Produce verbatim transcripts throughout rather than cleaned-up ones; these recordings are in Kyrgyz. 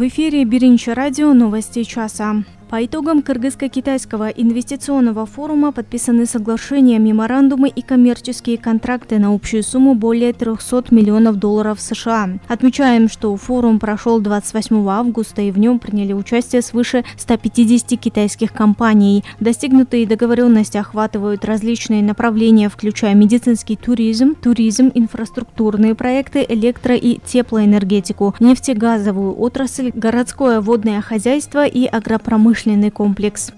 В эфире Биринчи радио, новости часа. По итогам Кыргызско-китайского инвестиционного форума подписаны соглашения, меморандумы и коммерческие контракты на общую сумму более трехсот миллионов долларов США. Отмечаем, что форум прошел двадцать восьмого августа, и в нем приняли участие свыше ста пятидесяти китайских компаний. Достигнутые договоренности охватывают различные направления, включая медицинский туризм, туризм, инфраструктурные проекты, электро- и теплоэнергетику, нефтегазовую отрасль, городское водное хозяйство и агропромышленность. Комплекс.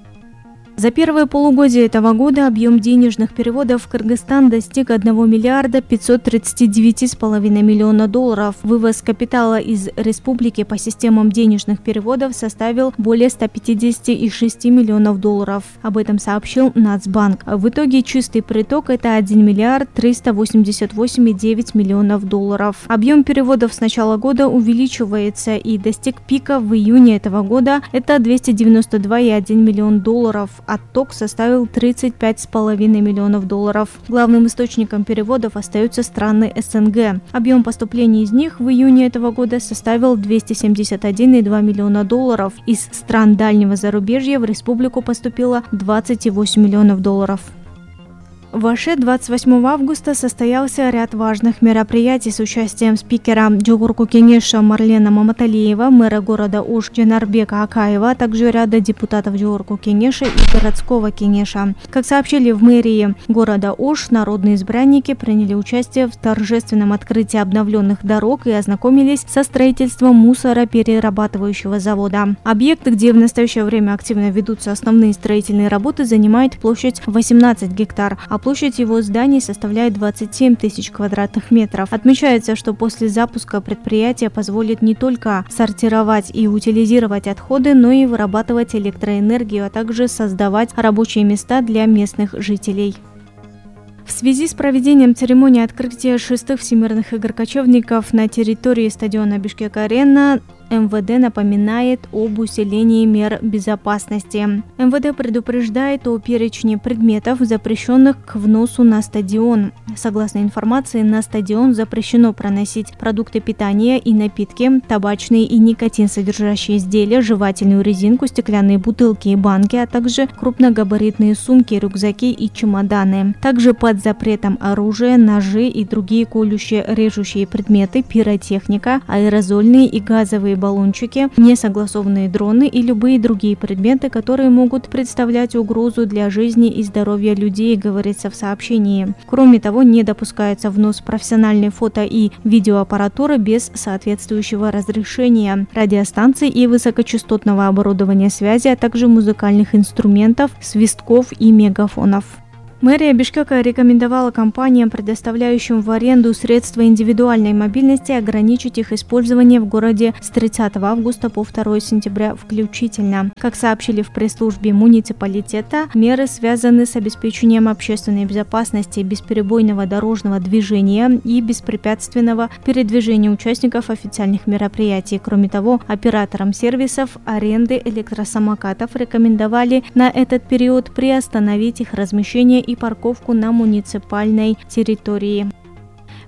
За первое полугодие этого года объем денежных переводов в Кыргызстан достиг одного миллиарда пятьсот тридцать девять с половиной миллиона долларов. Вывоз капитала из республики по системам денежных переводов составил более ста пятидесяти шести миллионов долларов. Об этом сообщил Нацбанк. В итоге чистый приток – это один миллиард триста восемьдесят восемь и девять десятых долларов. Объем переводов с начала года увеличивается и достиг пика в июне этого года. Это двести девяносто два и один миллион долларов. Отток составил тридцать пять с половиной миллионов долларов. Главным источником переводов остаются страны СНГ. Объем поступлений из них в июне этого года составил двести семьдесят один и два миллиона долларов. Из стран дальнего зарубежья в республику поступило двадцать восемь миллионов долларов. В Аше двадцать восьмого августа состоялся ряд важных мероприятий с участием спикера Жогорку кеңеша Марлена Маматалиева, мэра города Ош Жанарбека Акаева, а также ряда депутатов Жогорку кеңеша и городского кеңеша. Как сообщили в мэрии города Ош, народные избранники приняли участие в торжественном открытии обновленных дорог и ознакомились со строительством мусороперерабатывающего завода. Объект, где в настоящее время активно ведутся основные строительные работы, занимает площадь восемнадцать гектар, а площадь его зданий составляет двадцать семь тысяч квадратных метров. Отмечается, что после запуска предприятие позволит не только сортировать и утилизировать отходы, но и вырабатывать электроэнергию, а также создавать рабочие места для местных жителей. В связи с проведением церемонии открытия шестых всемирных игр кочевников на территории стадиона Бишкек-Арена МВД напоминает об усилении мер безопасности. МВД предупреждает о перечне предметов, запрещенных к вносу на стадион. Согласно информации, на стадион запрещено проносить продукты питания и напитки, табачные и никотин содержащие изделия, жевательную резинку, стеклянные бутылки и банки, а также крупногабаритные сумки, рюкзаки и чемоданы. Также под запретом оружие, ножи и другие колющие, режущие предметы, пиротехника, аэрозольные и газовые баллончики, несогласованные дроны и любые другие предметы, которые могут представлять угрозу для жизни и здоровья людей, говорится в сообщении. Кроме того, не допускается внос профессиональной фото- и видеоаппаратуры без соответствующего разрешения, радиостанций и высокочастотного оборудования связи, а также музыкальных инструментов, свистков и мегафонов. Мэрия Бишкека рекомендовала компаниям, предоставляющим в аренду средства индивидуальной мобильности, ограничить их использование в городе с тридцатого августа по второе сентября включительно. Как сообщили в пресс-службе муниципалитета, меры связаны с обеспечением общественной безопасности, бесперебойного дорожного движения и беспрепятственного передвижения участников официальных мероприятий. Кроме того, операторам сервисов аренды электросамокатов рекомендовали на этот период приостановить их размещение и и парковку на муниципальной территории.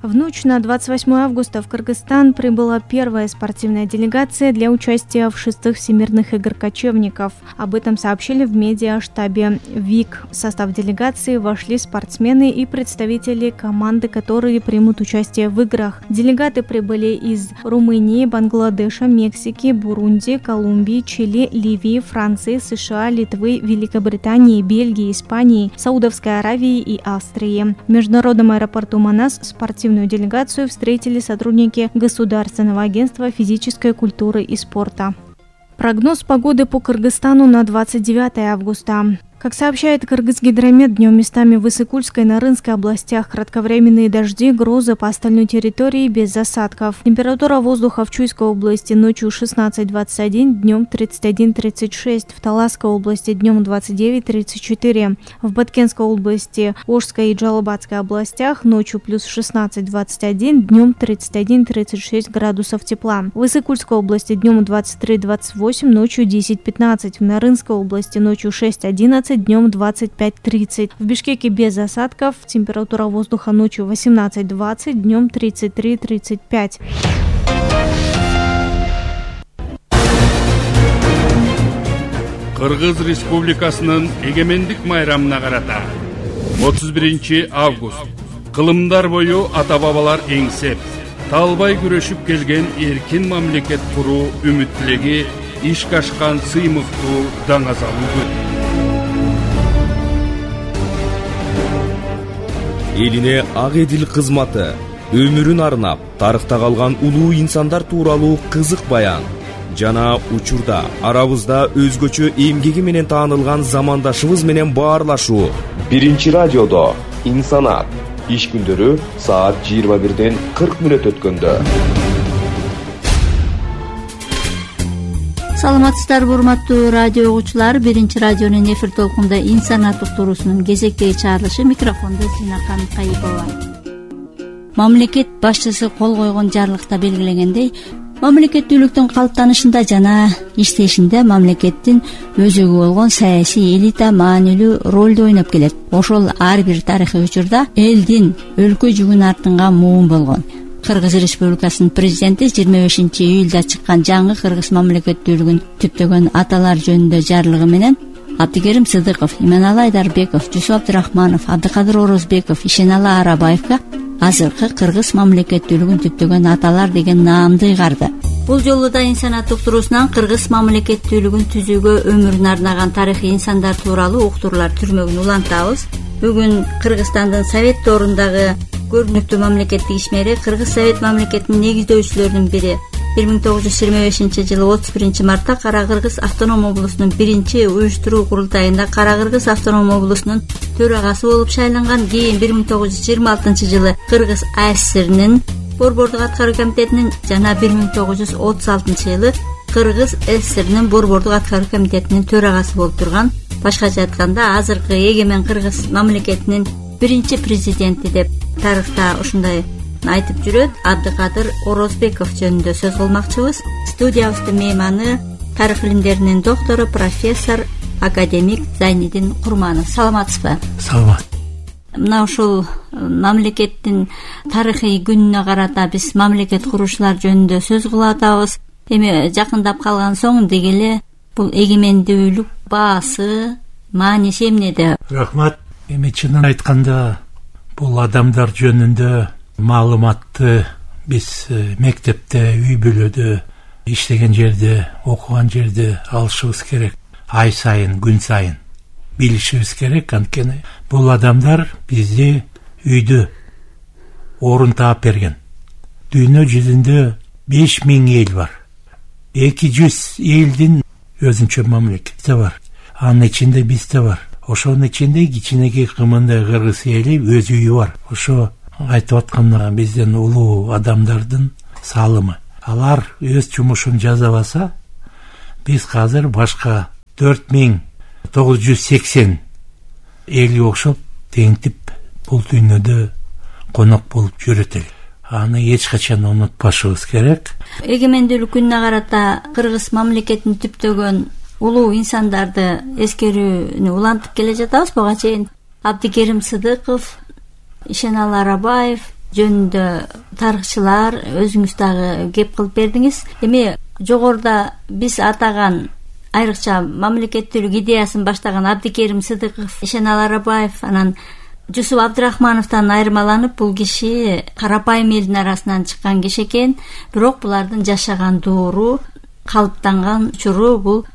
В ночь на двадцать восьмое августа в Кыргызстан прибыла первая спортивная делегация для участия в шестых всемирных игр кочевников. Об этом сообщили в медиаштабе ВИК. В состав делегации вошли спортсмены и представители команды, которые примут участие в играх. Делегаты прибыли из Румынии, Бангладеша, Мексики, Бурунди, Колумбии, Чили, Ливии, Франции, США, Литвы, Великобритании, Бельгии, Испании, Саудовской Аравии и Австрии. В международном аэропорту Манас спортивную делегацию встретили сотрудники Государственного агентства физической культуры и спорта. Прогноз погоды по Кыргызстану на двадцать девятое августа. Как сообщает Кыргызгидромет, днем местами в Иссык-Кульской и Нарынской областях кратковременные дожди, грозы по остальной территории без осадков. Температура воздуха в Чуйской области ночью шестнадцать двадцать один, днем тридцать один тридцать шесть, в Таласской области днем двадцать девять тридцать четыре, в Баткенской области, Ошской и Джалабадской областях ночью плюс шестнадцать двадцать один, днем тридцать один тридцать шесть градусов тепла. В Иссык-Кульской области днем двадцать три двадцать восемь, ночью десять пятнадцать, в Нарынской области ночью шесть одиннадцать, днем двадцать пять тридцать. В Бишкеке без осадков, температура воздуха ночью восемнадцать двадцать, днем тридцать три тридцать пять. Кыргыз Республикасынын эгемендик майрамына карата отуз биринчи август кылымдар бою ата-бабалар эңсеп, талбай күрөшүп келген эркин мамлекет куруу үмүт тилеги ишке ашкан сыймыктуу даңазалуу күн. Элине ак эдил кызматы, өмүрүн арнап, тарыхта калган улуу инсандар тууралуу кызык баян жана учурда арабызда өзгөчө эмгеги менен таанылган замандашыбыз менен баарлашуу. Биринчи радиодо инсанат иш күндөрү саат жыйырма бирден кырк мүнөт өткөндө. Саламатсыздарбы урматтуу радио угуучулар, биринчи радионун эфир толкунда инсанат уктуруусунун кезектеги чыгарылышы, микрофондо Зинакан Кайыпова. Мамлекет башчысы кол койгон жарлыкта белгилегендей, мамлекеттүүлүктүн калыптанышында жана иштешинде мамлекеттин өзөгү болгон саясий элита маанилүү ролду ойноп келет. Ошол ар бир тарыхый учурда элдин өлкө жүгүн артынган муун болгон. Кыргыз Республикасынын президенти жыйырма бешинчи июлда чыккан жаңы кыргыз мамлекеттүүлүгүн түптөгөн аталар жөнүндө жарлыгы менен Абдикерим Сыдыков, Иманалы Айдарбеков, Жусуп Абдрахманов, Абдыкадыр Орозбеков, Ишеналы Арабаевга азыркы кыргыз мамлекеттүүлүгүн түптөгөн аталар деген наамды ыйгарды. Бул жолу да инсанат уктуруусунан кыргыз мамлекеттүүлүгүн түзүүгө өмүрүн арнаган тарыхый инсандар тууралуу уктуруулар түрмөгүн улантабыз. Бүгүн Кыргызстандын Совет доорундагы көрүнүктүү мамлекеттик ишмери, Кыргыз Совет мамлекетинин негиздөөчүлөрүнүн бири, бир миң тогуз жүз жыйырма бешинчи жылы отуз биринчи мартта Кара Кыргыз автоном облусунун биринчи уюштуруу курултайында Кара Кыргыз автоном облусунун төрагасы болуп шайланган. Кийин бир миң тогуз жүз жыйырма алтынчы жылы Кыргыз АССРнин борбордук аткаруу комитетинин жана бир миң тогуз жүз отуз алтынчы жылы Кыргыз ССРнин борбордук аткаруу комитетинин төрагасы болуп турган. Башкача айтканда, азыркы эгемен Кыргыз мамлекетинин биринчи президенти деп тарыхта ушундай айтып жүрөт. Абдыкадыр Орозбеков жөнүндө сөз кылмакчыбыз. Студиябыздын мейманы тарых илимдеринин доктору, профессор, академик Зайнидин Курманов. Саламатсызбы? Саламат. Мына ушул мамлекеттин тарыхый күнүнө карата биз мамлекет курушуулар жөнүндө сөз кылып атабыз. Эми жакындап калган соң дегеле бул эгемендүүлүк баасы, мааниси эмнеде? Рахмат. Эми чынын айтканда бул адамдар жөнүндө маалыматты биз мектепте, үй бүлөдө, иштеген жерде, окуган жерде алышыбыз керек. Ай сайын, күн сайын билишибиз керек. Анткени бул адамдар бизди үйдө орун таап берген. Дүйнө жүзүндө беш миң эл бар. эки жүз элдин өзүнчө мамлекети бар. Анын ичинде биз да бар. Ошонун ичинде кичинекей кымындай кыргыз эли өз үйү бар. Ошо айтып аткан бизден улуу адамдардын салымы. Алар өз жумушун жасабаса, биз азыр башка төрт миң тогуз жүз сексен элге окшоп теңтип бул дүйнөдө конок болуп жүрөт элек. Аны эч качан унутпашыбыз керек. Эгемендүүлүк күнүнө карата кыргыз мамлекетинин түптөгөн улуу инсандарды эскерүүнү улантып келе жатабыз. Буга чейин Абдикерим Сыдыков, Ишеналы Арабаев жөнүндө тарыхчылар өзүңүз дагы кеп кылып бердиңиз. Эми жогоруда биз атаган айрыкча мамлекеттүүлүк идеясын баштаган Абдикерим Сыдыков, Ишеналы Арабаев, анан Жусуп Абдрахмановтан айырмаланып, бул киши карапайым элдин арасынан чыккан киши экен. Бирок булардын жашаган доору, калыптанган учуру бул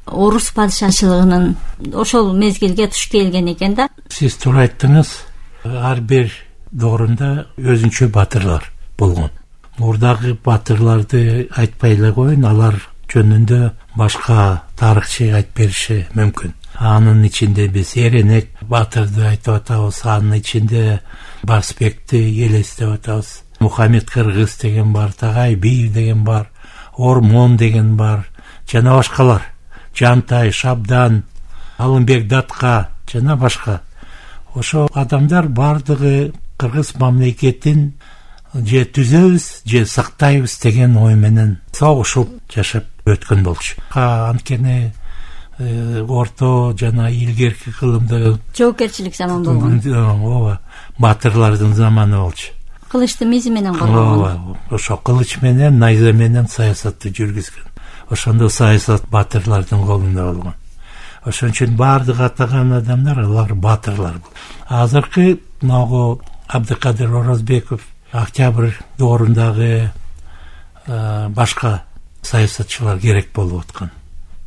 орус падышачылыгынын ошол мезгилге туш келген экен да. Сиз туура айттыңыз. Ар бир доорунда өзүнчө батырлар болгон. Мурдагы батырларды айтпай эле коеюн, алар жөнүндө башка тарыхчы айтып бериши мүмкүн. Анын ичинде биз Эренек батырды айтып атабыз, анын ичинде Барсбекти элестеп атабыз. Мухаммед Кыргыз деген бар, Тагай Биев деген бар, Ормон деген бар, жана башкалар. Жантай, Шабдан, Алымбек Датка жана башка. Ошо адамдар бардыгы кыргыз мамлекетин же түзөбүз, же сактайбыз деген ой менен согушуп жашап өткөн болчу. Анткени орто жана илгерки кылымда жоокерчилик заман болгон. Ооба, батырлардын заманы болчу. Кылычты мизи менен коргогон. Ооба, ошо кылыч менен, найза менен саясатты жүргүзгөн. Ошондо саясат батырлардын колунда болгон. ошон үчүн баардык атаган адамдар алар баатырлар. Азыркы могу Абдыкадыр Орозбеков, Октябрь доорундагы башка саясатчылар керек болуп аткан.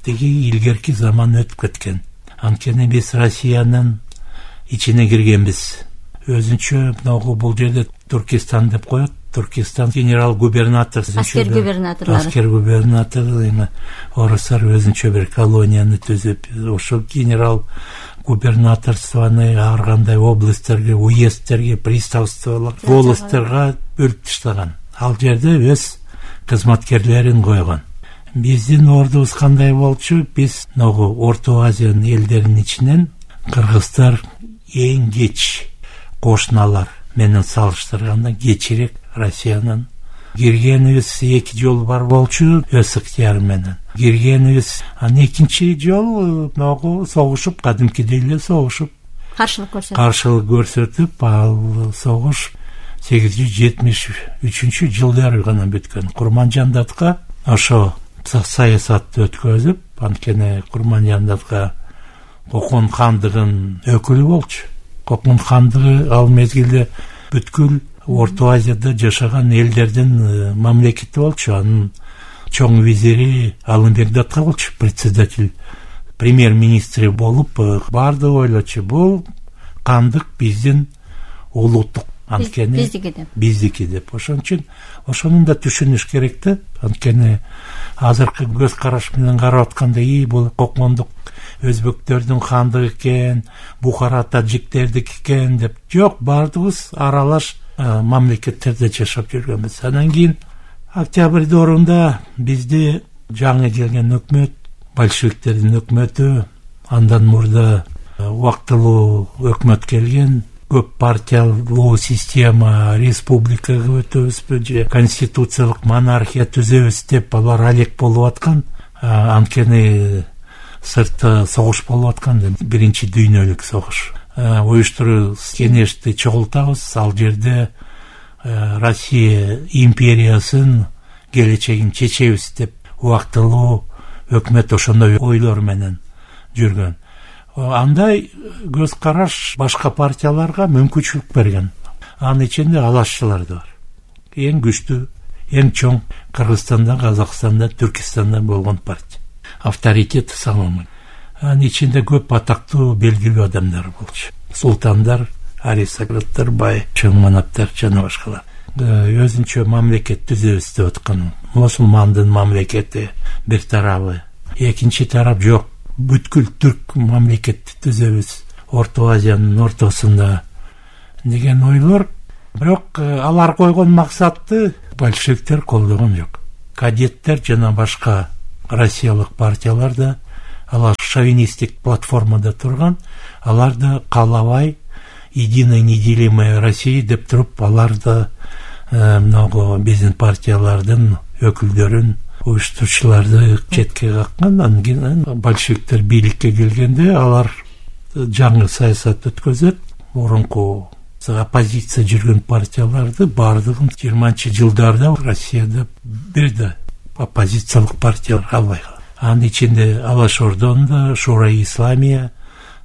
Тиги илгерки заман өтүп кеткен. Анткени биз Россиянын ичине киргенбиз. Өзүнчө могу бул жерде Туркестан деп коет. Туркестан генерал-губернатор, аскер губернаторлору, аскер губернатор, эми орустар өзүнчө бир колонияны түзүп, ошол генерал-губернаторствону ар кандай областьтерге, уездтерге, приставстволор, волостьтерге бөлүп таштаган. Ал жерде өз кызматкерлерин койгон. Биздин ордубуз кандай болчу? Биз ногу Орто Азиянын элдеринин ичинен кыргыздар эң кеч кошуналар менен салыштырганда кечирээк Россиянын киргенибиз эки жолу бар болчу, өз ыктыяры менен киргенибиз. Анан экинчи жолу могу согушуп, кадимкидей эле согушуп, каршылык көрсөтүп каршылык көрсөтүп, ал согуш сегиз жүз жетимиш үчүнчү жылдары гана бүткөн. Курманжандатка ошо саясатты өткөзүп, анткени Курманжандатка Кокон хандыгынын өкүлү болчу. Кокон хандыгы ал мезгилде бүткүл Орто Азияда жашаган элдердин мамлекети болчу. Анын чоң визири Алымбек Датка болчу, председатель, премьер-министри болуп, баардыгы ойлочу, бул кандык биздин улуттук, анткени биздики деп. Биздики деп. Ошон үчүн ошону да түшүнүш керек да. Анткени азыркы көз караш менен карап атканда, и бул Кокондук өзбектөрдүн хандыгы экен, Бухара таджиктердики экен деп. Жок, баардыгыбыз аралаш мамлекеттерде жашап жүргөнбүз. Анан кийин Октябрь доорунда бизди жаңы келген өкмөт, большевиктердин өкмөтү, андан мурда убактылуу өкмөт келген, көп партиялуу система, республикага өтөбүзбү же конституциялык монархия түзөбүз деп алар алек болуп аткан. Анткени сыртта согуш болуп аткан, биринчи дүйнөлүк согуш. Уюштуруу кеңешти чогултабыз, ал жерде Россия империясын келечегин чечебиз деп убактылуу өкмөт ошондой ойлор менен жүргөн. Андай көз караш башка партияларга мүмкүнчүлүк берген. Анын ичинде алашчылар да бар. Эң күчтүү, эң чоң Кыргызстанда, Казакстанда, Түркистанда болгон партия. Авторитет самый. Анын ичинде көп атактуу, белгилүү адамдар болчу. Султандар, аристократтар, бай, чоң манаптар жана башкалар. Өзүнчө мамлекет түзөбүз деп аткан. Мусулмандын мамлекети бир тарабы, экинчи тарап жок. Бүткүл түрк мамлекетти түзөбүз Орто Азиянын ортосунда деген ойлор. Бирок алар койгон максатты большевиктер колдогон жок. Кадеттер жана башка россиялык партиялар да алар шовинистик платформада турган. Алар да каалабай единая неделимая Россия деп туруп, алар да много биздин партиялардын өкүлдөрүн, уюштуруучуларды четке каккан. Анан кийин большевиктер бийликке келгенде алар жаңы саясат өткөзөт. Мурунку оппозиция жүргөн партияларды баардыгын жыйырманчы жылдарда Россияда бир да оппозициялык партиялар албай калды. Анын ичинде Алаш Ордонда, Шура-и Исламия,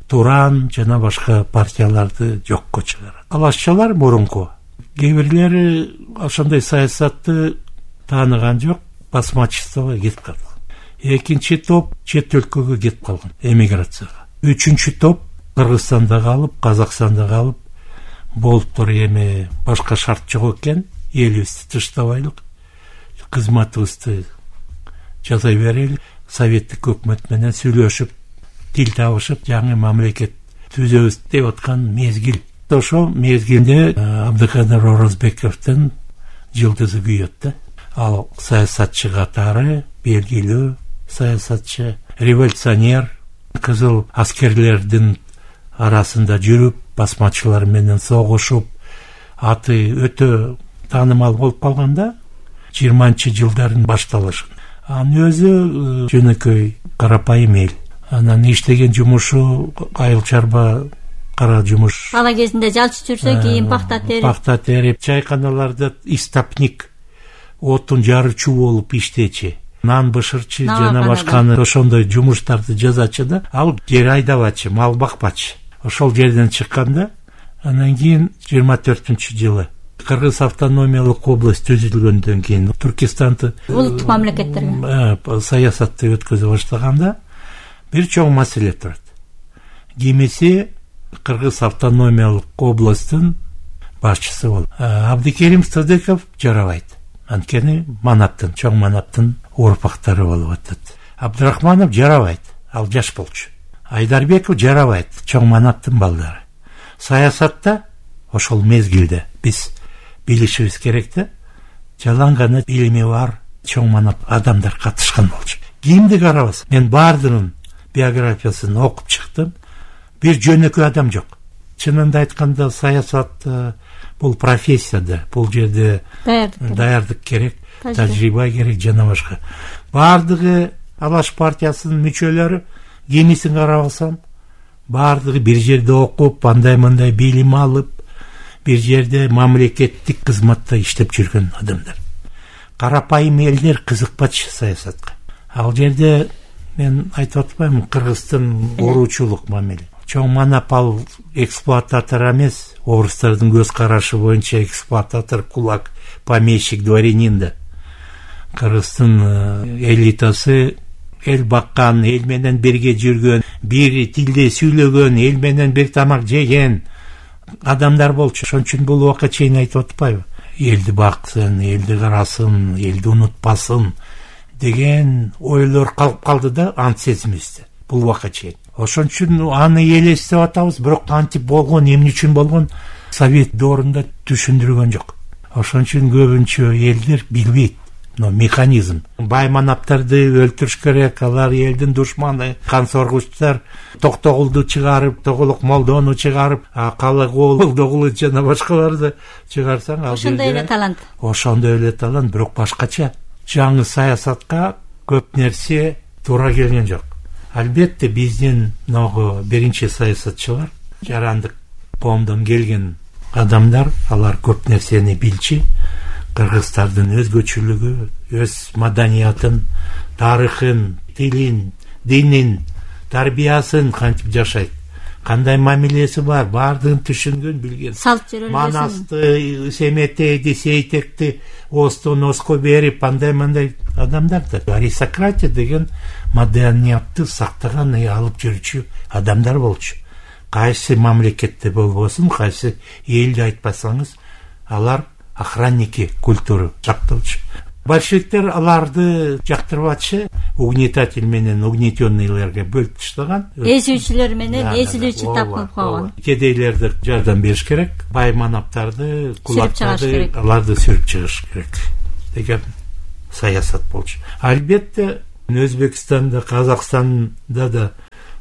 Туран жана башка партияларды жокко чыгарат. Алашчылар мурунку кээ ошондой саясатты тааныган жок, басмачествого кетип калган. Экинчи топ чет өлкөгө кетип калган, эмиграцияга. Үчүнчү топ Кыргызстанда калып, Казакстанда калып, болуптур эми башка шарт жок экен, элибизди тыштабайлык, кызматыбызды жасай берели, советтик өкмөт менен сүйлөшүп, тил табышып, жаңы мамлекет түзөбүз деп аткан мезгил. Ошо мезгилде Абдыкадыр Орозбековдун жылдызы күйөт да. Ал саясатчы катары, белгилүү саясатчы, революционер, кызыл аскерлердин арасында жүрүп, басмачылар менен согушуп, аты өтө таанымал болуп калганда жыйырманчы жылдардын башталышын. Анын өзү жөнөкөй карапайым эл. Анан иштеген жумушу айыл чарба, кара жумуш. Бала кезинде жалчы жүрсө, кийин пахта терип, пахта терип, чайканаларда истопник, отун жарычуу болуп иштечи. нан бышырчы жана башканы ошондой жумуштарды жасачы да, ал жер айдабачы, мал бакпачы. Ошол жерден чыкканда анан кийин жыйырма төртүнчү жылы Кыргыз автономиялык область түзүлгөндөн кийин Туркистанды улуттук мамлекеттерге саясатты өткөзө баштаганда бир чоң маселе турат. Кимиси Кыргыз автономиялык областтын башчысы болуп, Абдикерим Садыков жарабайт. Анткени манаптын, чоң манаптын урпактары болуп атат. Абдрахманов жарабайт, ал жаш болчу. Айдарбеков жарабайт, чоң манаптын балдары. Саясатта ошол мезгилде биз билишибиз керек да, жалаң гана билими бар чоң манап адамдар катышкан болчу. Кимди карабас? Мен баардыгынын биографиясын окуп чыктым. Бир жөнөкөй адам жок. Чынында айтканда саясат бул профессия да, бул жерде даярдык керек, тажрыйба керек жана башка. Баардыгы Алаш партиясынын мүчөлөрү, кимисин карабасам, баардыгы бир жерде окуп, андай-мындай билим алып, бир жерде мамлекеттик кызматта иштеп жүргөн адамдар. Карапайым элдер кызыкпачы саясатка. Ал жерде мен айтып атпаймынбы, Кыргыздын ооручулук мамиле. Чоң манап ал эксплуататор эмес, орустардын көз карашы боюнча эксплуататор, кулак, помещик, дворянин да. Кыргыздын элитасы эл баккан, эл менен бирге жүргөн, бир тилде сүйлөгөн, эл менен бир тамак жеген адамдар болчу. Ошон үчүн бул убакка чейин айтып атпайбы? Элди баксын, элди карасын, элди унутпасын деген ойлор калып калды да ант сезимибизде бул убакка чейин. Ошон үчүн аны элестеп атабыз, бирок кантип болгон, эмне үчүн болгон Совет доорунда түшүндүргөн жок. Ошон үчүн көбүнчө элдер билбейт но механизм. Бай манаптарды өлтүрүш керек, алар элдин душманы, кан соргучтар, Токтогулду чыгарып, Тоголук Молдону чыгарып, Калыгул жана башкаларды чыгарсаң, ал ошондой эле талант. Ошондой эле талант, бирок башкача. Жаңы саясатка көп нерсе туура келген жок. Албетте биздин ногу биринчи саясатчылар, жарандык коомдон келген адамдар, алар көп нерсени билчи. Кыргыздардын өзгөчөлүгү, өз маданиятын, тарыхын, тилин, динин, тарбиясын кантип жашайт, кандай мамилеси бар, баардыгын түшүнгөн, билген. Салт жүрөлүшүн. Манасты, Семетейди, Сейтекти, Остон оско берип, андай-мындай адамдар да. Аристократия деген маданиятты сактаган, алып жүрчү адамдар болчу. Кайсы мамлекетте болбосун, кайсы элди айтпасаңыз, алар охранники культуру жактоочу. Большевиктер аларды жактырбачы, угнетатель менен угнетенныйларга бөлүп таштаган. Эзүүчүлөр менен эзилүүчү тапкылып койгон. Кедейлерди жардам бериш керек, бай манаптарды, кулактарды, аларды сүрүп чыгыш керек деген саясат болчу. Албетте Өзбекстанда, Казакстанда да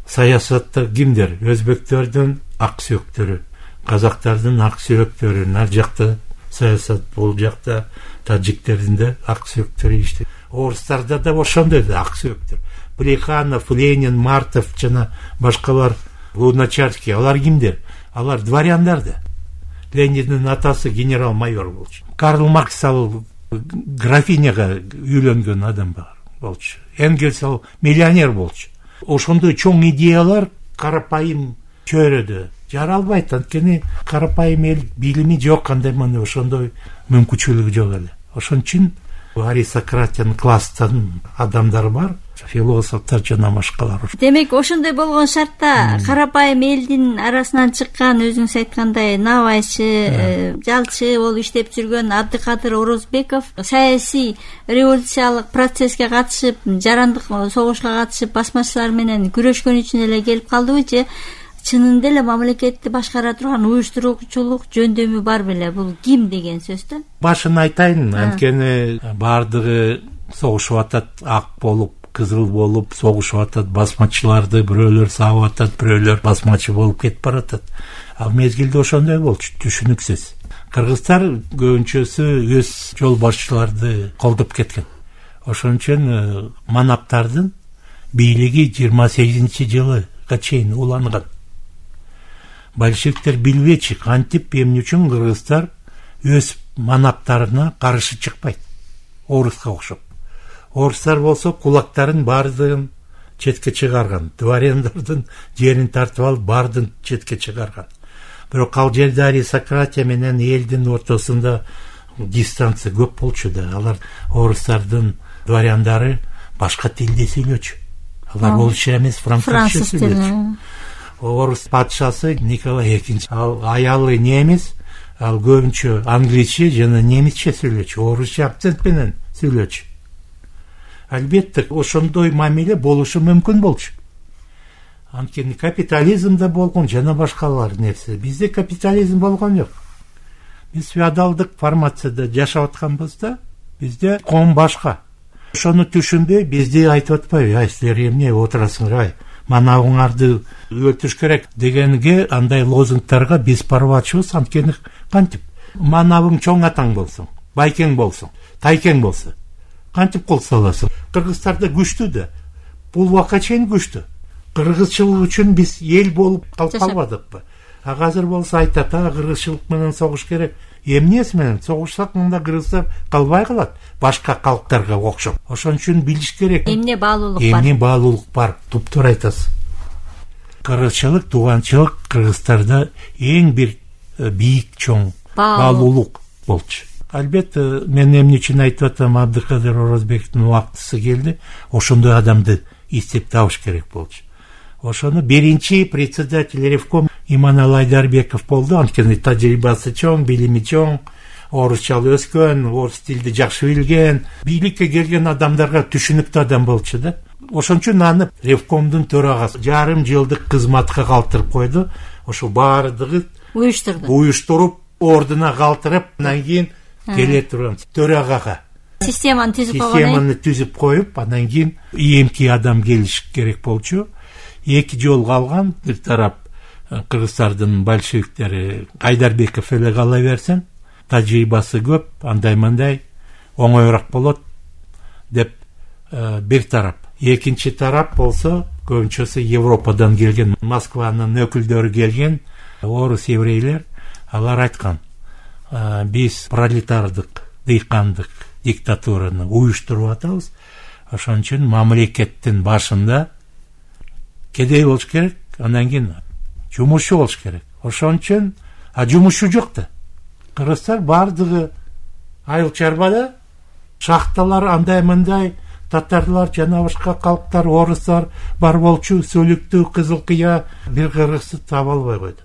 саясатта кимдер? Өзбектердин ак сүйөктөрү, казактардын ак сүйөктөрү, нар жакта саясат, бул жакта таджиктердин да ак сүйөктөрү иштейт. Орустарда да ошондой да ак сүйөктөр. Плеханов, Ленин, Мартов жана башкалар, Луначарский, алар кимдер? Алар дворяндар да. Лениндин атасы генерал-майор болчу. Карл Маркс ал графиняга үйлөнгөн адам болчу. Энгельс ал миллионер болчу. Ошондой чоң идеялар карапайым чөйрөдө жаралбайт, анткени карапайым эл билими жок, кандай мына ошондой мүмкүнчүлүгү жок эле. Ошон үчүн аристократиянын класстан адамдар бар, философтор жана башкалар. Демек, ошондой болгон шартта карапайым элдин арасынан чыккан, өзүңүз айткандай, набайчы, жалчы болуп иштеп жүргөн Абдыкадыр Орозбеков саясий революциялык процесске катышып, жарандык согушка катышып, басмачылар менен күрөшкөн үчүн эле келип калдыбы же чынында эле мамлекетти башкара турган уюштуруучулук жөндөмү бар беле? Бул ким деген сөз да? Башын айтайын, анткени баардыгы согушуп атат, ак болуп, кызыл болуп согушуп атат, басмачыларды бирөөлөр сабап атат, бирөөлөр басмачы болуп кетип баратат. Ал мезгилде ошондой болчу, түшүнүксүз. Кыргыздар көбүнчөсү өз жол башчыларды колдоп кеткен. Ошон үчүн манаптардын бийлиги жыйырма сегизинчи жылга чейин уланган. Большевиктер билбечи кантип эмне үчүн кыргыздар өз манаптарына каршы чыкпайт, оруска окшоп. Орустар болсо кулактарын баардыгын четке чыгарган, дворяндардын жерин тартып алып баардыгын четке чыгарган. Бирок ал жерде аристократия менен элдин ортосунда дистанция көп болчу да. Алар орустардын дворяндары башка тилде сүйлөчү. Алар орусча эмес, французча сүйлөчү. Орус патшасы Николай экинчи ал аялы немис, ал көбүнчө англисче жана немисче сүйлөчү, орусча акцент менен сүйлөчү. Албетте ошондой мамиле болушу мүмкүн болчу. Анткени капитализмде болгон жана башкалар нерсе. Бизде капитализм болгон жок. Биз феодалдык формацияда жашап атканбыз да, бизде коом башка. Ошону түшүнбөй бизди айтып атпайбы, ай силер эмне отурасыңар, ай манабыңарды өлтүрүш керек дегенге андай лозунгтарга биз парбачыбыз. Анткени кантип манабың чоң атаң болсун, байкең болсун, тайкең болсо кантип кол саласың? Кыргыздарда күчтүү да, бул убакка чейин күчтүү. Кыргызчылык үчүн биз эл болуп калып калбадыкпы? А азыр болсо айтат, а кыргызчылык менен согуш керек. Эмнеси менен согушсак мында кыргыздар калбай калат, башка калктарга окшоп. Ошон үчүн билиш керек. Эмне баалуулук бар? Эмне баалуулук бар? Туптуур айтасыз. Кыргызчылык, тууганчылык Кыргыздарда эң бир бийик чоң баалуулук болчу. Албетте, мен эмне үчүн айтып атам, Абдыкадыр Орозбековдун убактысы келди. Ошондой адамды издеп табыш керек болчу. Ошону биринчи председатель Ревком Иманалы Айдарбеков болду. Анткени тажрыйбасы чоң, билими чоң, орусчалуу өскөн, орус тилди жакшы билген, бийликке келген адамдарга түшүнүктүү адам болчу да. Ошон үчүн аны Ревкомдун төрагасы жарым жылдык кызматка калтырып койду. Ошо баардыгы уюштурду. Уюштуруп, ордуна калтырып, анан кийин келе турган төрагага системаны түзүп койгон. Системаны түзүп коюп, анан кийин ийимки адам келиш керек болчу. Эки жол калган, бир тарап кыргыздардын большевиктери Айдарбеков эле кала берсин, тажрыйбасы көп, андай-мындай оңоюраак болот деп бир тарап. Экинчи тарап болсо көбүнчөсү Европадан келген, Москванын өкүлдөрү келген орус еврейлер. Алар айткан, биз пролетардык, дыйкандык диктатураны уюштуруп атабыз. Ошон үчүн мамлекеттин башында кедей болуш керек, андан кийин жумушчу болуш керек. Ошон үчүн а жумушчу жок да. Кыргыздар бардыгы айыл чарбада, шахталар андай-мындай, татарлар жана башка калктар, орустар бар болчу, Сөлүктүү, Кызыл Кыя, бир кыргызды таба албай койду.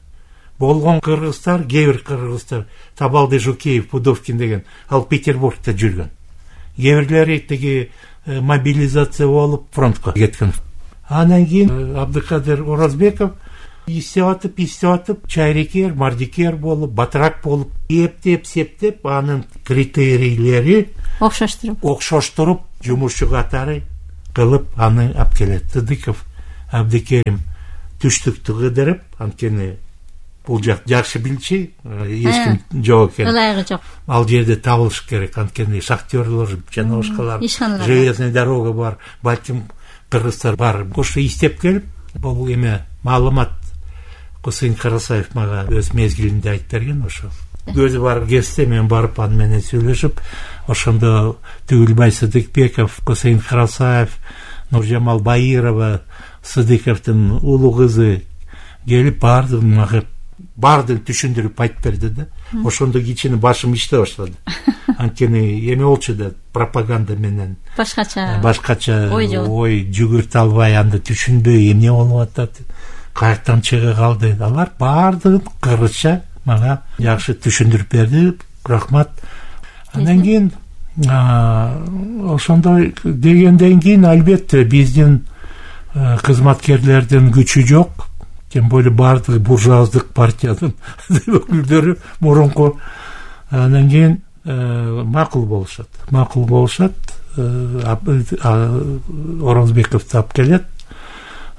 Болгон кыргыздар, кээ бир кыргыздар, Табалды Жукеев, Пудовкин деген, ал Петербургда жүргөн. Кээ бирлери тиги мобилизация болуп фронтко кеткен. Анан кийин Абдыкадыр Орозбеков иштеп атып, иштеп атып, чайрекер, мардикер болуп, батырак болуп, эптеп, септеп, анын критерийлери окшоштуруп, окшоштуруп, жумушчу катары кылып аны алып келет. Сыдыков Абдыкерим түштүктү кыдырып, анткени бул жак жакшы билчи, эч ким жок экен. Ылайыгы жок. Ал жерде табылыш керек, анткени шахтерлор жана башкалар, железный дорога бар, балким кыргыздар бар. Ошо иштеп келип, бул эме маалымат Кусейин Карасаев мага өз мезгилинде айтып берген. Ошо өзү бар кезде мен барып аны менен сүйлөшүп, ошондо Түгүлбай Сыдыкбеков, Кусейин Карасаев, Нуржамал Баирова, Сыдыковдун улуу кызы келип бардыгын мага бардыгын түшүндүрүп айтып берди да. Ошондо кичине башым иштей баштады. Анткени эме болчу да, пропаганда менен башкача башкача ой жүгүртө албай, анда түшүнбөй эмне болуп атат, каяктан чыга калды. Алар бардыгын кыргызча мага жакшы түшүндүрүп берди. Рахмат. Андан кийин ошондой дегенден кийин албетте биздин кызматкерлердин күчү жок. Тем более бардыгы буржуаздык партиянын өкүлдөрү мурунку. Андан кийин макул болушат. Макул болушат. Орозбековду алып келет.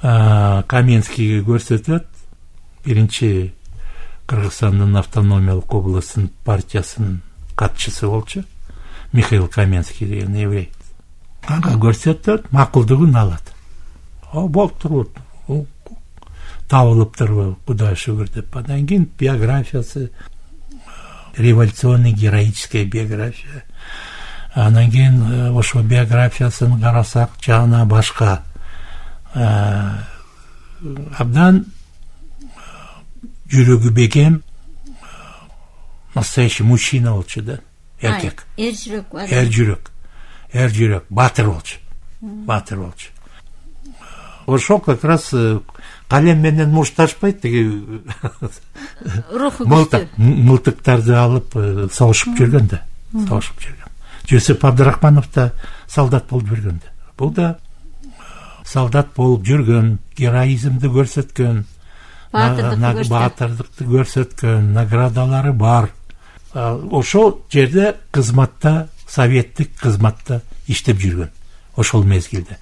Каменскийге көрсөтөт. Биринчи Кыргызстандын автономиялык областынын партиясынын катчысы болчу. Михаил Каменский деген еврей. Ага көрсөтөт, макулдугун алат. О, болуптур. Табылыптыр, кудай шүгүр деп. Андан кийин биографиясы, революционный героическая биография. Анан кийин ошо биографиясын карасак, жана башка абдан жүрөгү бекем, настоящий мужчина болчу да, эркек. Эр жүрөк, эр жүрөк, эр жүрөк, баатыр болчу, баатыр болчу. Ошол как раз калем менен мушташпайт, тиги руху күчтүү, мылтыктарды алып согушуп жүргөн да, согушуп жүргөн. Жусуп Абдрахманов да солдат болуп жүргөн да. Бул да солдат болуп жүргөн, героизмди көрсөткөн, баатырдыкты көрсөткөн, наградалары бар. Ошол жерде кызматта, советтик кызматта иштеп жүргөн. Ошол мезгилде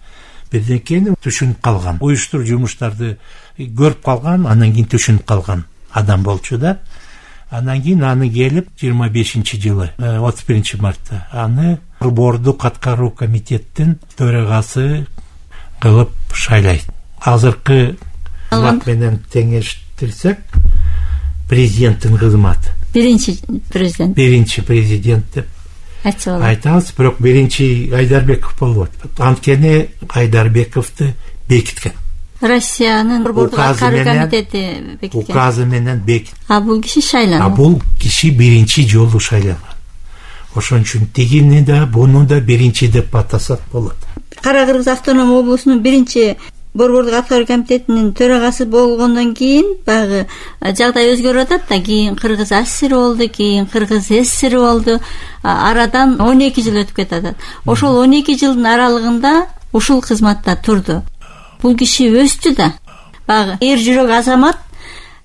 бирдекени түшүнүп калган, уюштуруп жумуштарды көрүп калган, анан кийин түшүнүп калган адам болчу да. Анан кийин аны келип жыйырма бешинчи жылы отуз биринчи мартта аны бордук аткаруу комитеттин төрагасы кылып шайлайт. Азыркы кызмат менен теңештирсек, президенттин кызматы. Биринчи президент. Биринчи президент деп айтабыз, бирок биринчи Айдарбеков болуп атат. Анткени Айдарбековду бекиткен. Россиянын борбордук аткаруу комитети бекиткен. Указы менен бекиткен. А бул киши шайланган. А бул киши биринчи жолу шайланган. Ошон үчүн тигини да, буну да биринчи деп атасак болот. Кара Кыргыз автономия облусунун биринчи борбордук аткаруу комитетинин төрагасы болгондон кийин баягы жагдай өзгөрүп атат да, кийин Кыргыз АССР болду, кийин Кыргыз ССР болду. Арадан он эки жыл өтүп кетет. Ошол он эки жылдын аралыгында ушул кызматта турду. Бул киши өстү да. Баягы эр жүрөк азамат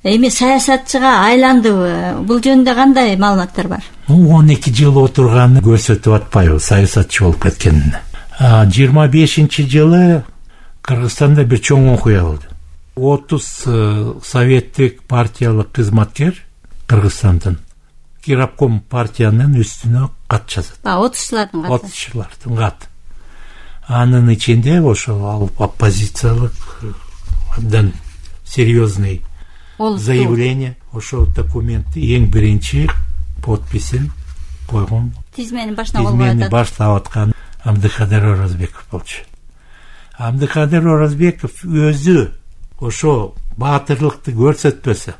эми саясатчыга айландыбы? Бул жөнүндө кандай маалыматтар бар? он эки жыл отурганы көрсөтүп атпайбы саясатчы болуп кеткенин. жыйырма бешинчи жылы Кыргызстанда бир чоң окуя болду. отуз советтик партиялык кызматкер Кыргызстандын Кирапком партиянын үстүнө кат жазат. отузчулардын каты. отузчулардын каты. Анын ичинде ошол оппозициялык абдан серьезный заявление, ошол документти эң биринчи подписин койгон, тизмени башына колгоп атат. Тизмени баштап аткан Абдыкадыр Оразбеков болчу. Абдыкадыр Оразбеков өзү ошо баатырлыкты көрсөтпөсө,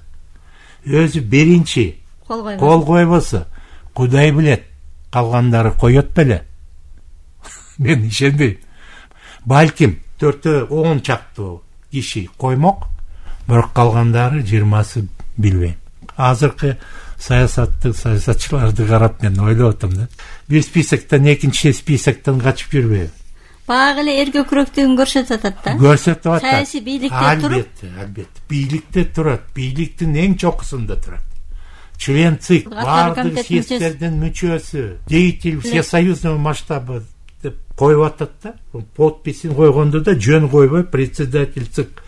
өзү биринчи кол койбосо, Кудай билет, калгандары коет беле. Мен ишенбейм. Балким төртөө он чактуу киши коймок, бирок калгандары жыйырмасы билбейм. Азыркы саясатты, саясатчыларды карап мен ойлоп атам да. Бир списоктон экинчи списоктон качып жүрбөйбү. Багы эле эр көкүрөктүгүн көрсөтүп атат да. Көрсөтүп атат. Саясий бийликте туруп. Албетте, албетте. Бийликте турат, бийликтин эң чокусунда турат. Член ЦИК, бардык съезддердин мүчөсү, деятель всесоюзного масштаба деп коюп атат да. Подписин койгондо да жөн койбой председатель ЦИК